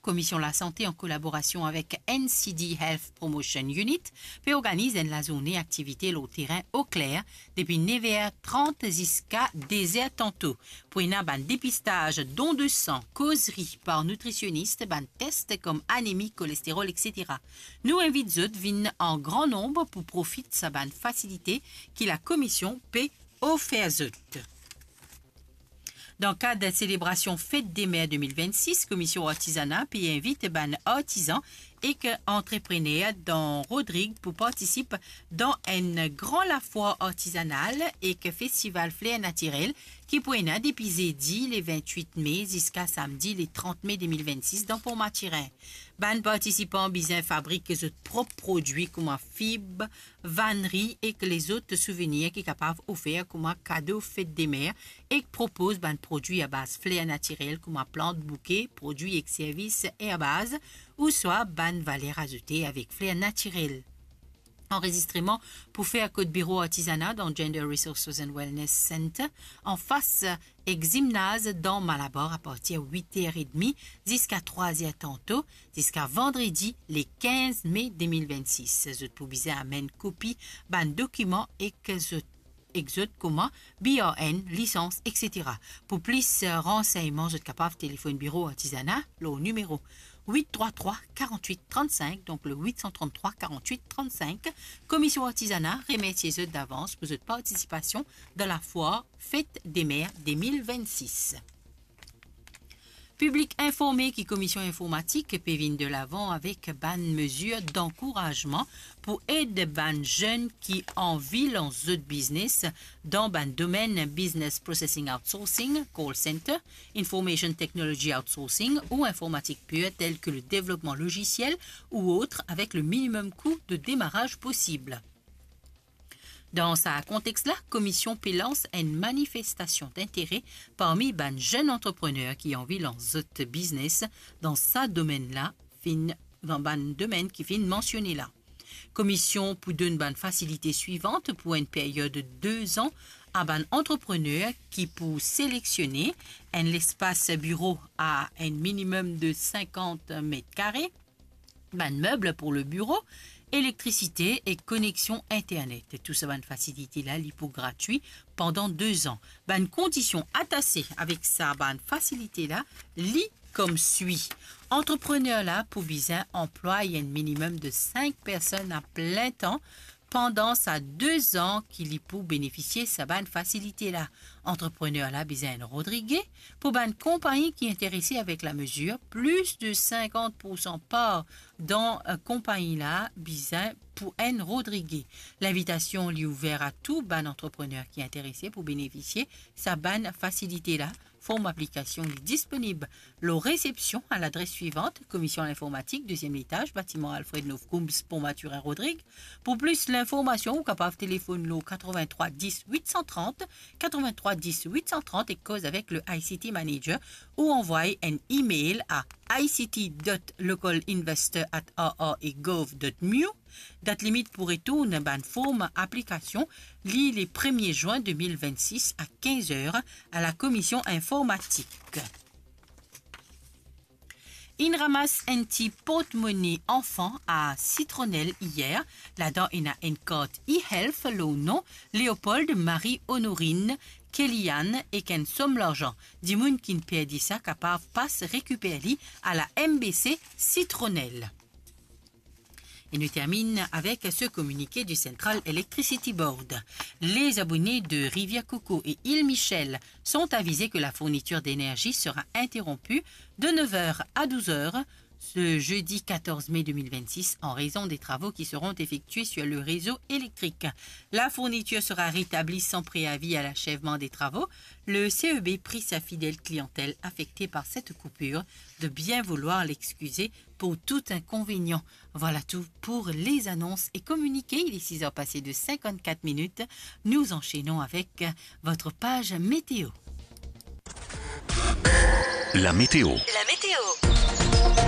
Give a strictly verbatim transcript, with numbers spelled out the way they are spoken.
Komision Lasante, an kolaborasion avek N C D Health Promotion Unit, pe organiz enn lazourne aktivite lor terin Okler depi nev er trant ziska de zer tanto. Pou ena bann depistaz, don de san, kozri par nitrisionis, bann tes kom anemi, kolesterol, et cetera. Nou invit zot vinn an gran nonb pou profit sa bann fasilite ki lakomision pe ofer zot. Dan kad selebrasion Fet de Mer de mil vennsis, Komision Artizana pe invit bann artizan ek antreprener dan Rodrig pou partisip dan enn gran lafwar artizanal ek festival fler natirel ki pou ena depi zedi le vintwit me ziska samdi le trant me de mil vennsis dan Port Mathurin. Bann partisipan bizin fabrik zot prop prodwi kouma fib, vanri ek lezot souvenir ki kapav ofer kouma kado Fet de Mer, ek propoz bann prodwi abaz fler natirel kouma plant, bouke, prodwi ek servis erbaz, ouswa bann valer azoute avek fler natirel. Anrezistreman pou fer kot biro Artizana dan Gender Resources and Wellness Center, anfas ek zimnaz dan Malabar, apartir wit er edmi ziska trwa zer tanto, ziska vandredi le kinz me de mil vennsis. Zot pou bizin amenn kopi bann dokiman ek zot, ek zot kouma B R N, lisans, et cetera. Pou plis, eh, ransegnman, zot kapav telefonn biro Artizana lor nimero wit trwa trwa karant-wit trant-sink, donk le wit san trant-trwa karant-wit trant-sink. Komision Artizana remersie zot davans pou zot partisipasion dan lafwar Fet de Mer de mil vennsis. Piblik informe ki Komision Informatik pe vinn de lavan avek bann mezir dankourazman pou ed bann zenn ki anvi lans zot biznes dan bann domenn business processing outsourcing, call center, information technology outsourcing ou informatik pir, tel ki le devlopman lozisiel ou ot, avek le minimum kou de demaraz posib. Dan sa kontex la, Komision pe lans enn manifestasion dintere parmi bann zenn antreprener ki anvi lans zot biznes dan sa domenn la, finn, dan bann domenn ki finn mansione la. Komision pou donn bann fasilite swivan pou enn period de de zan a bann antreprener ki pou seleksionnen enn lespas biro a enn minimum de sinkant met kare, bann meb pou le biro, elektrisite ek koneksion internet. Tou sa bann fasilite la, li pou gratwi pandan de zan. Bann kondision atase avek sa bann fasilite la, li koumsa. Antreprener la pou bizin anplway enn minimum de sink personn a plin tan pandan sa de zan ki li pou benefisie sa bann fasilite la. Antreprener la bizin enn Rodrige. Pou bann konpagni ki interese avek lamezir, plis de sinkant poursan par dan, eh, konpagni la bizin pou enn Rodrige. Linvitasion li ouver a tou bann antreprener ki interese pou benefisie sa bann fasilite la. Form aplikasion li disponib lor resepsion a ladres swivan: Komision Linformatik, deziem letaz, batiman Alfred Nov Coombs, Pont Mathurin, Rodrig. Pou plis linformasion, ou kapav telefonn lor katrevin-trwa dis wit san trant, katrevin-trwa dis wit san trant, ek koz avek le I C T manager, ou anvway enn email a I C T dot local investor at R R A gov dot M U. Dat limit pou retourn bann form aplikasion, li le premie zwin de mil vennsis a kinz er a Lakomision Informatik. Inn ramas enn ti portmone anfan a Sitronel iyer, ladan ena enn kart e-health lor nom Léopold Marie Honorine Kellyanne ek enn som larzan. Dimoun ki'nn perdi sa kapav pas rekiper li a la M B C Sitronel. Et nous terminons avec ce communiqué du Central Electricity Board. Les abonnés de Rivière-Coco et Île Michel sont avisés que la fourniture d'énergie sera interrompue de neuf heures à douze heures ce jeudi quatorze mai deux mille vingt-six en raison des travaux qui seront effectués sur le réseau électrique. La fourniture sera rétablie sans préavis à l'achèvement des travaux. Le C E B prie sa fidèle clientèle affectée par cette coupure de bien vouloir l'excuser pour tout inconvénient. Voilà tout pour les annonces et communiqués. Il est six heures passées de cinquante-quatre minutes. Nous enchaînons avec votre page météo. La météo. La météo.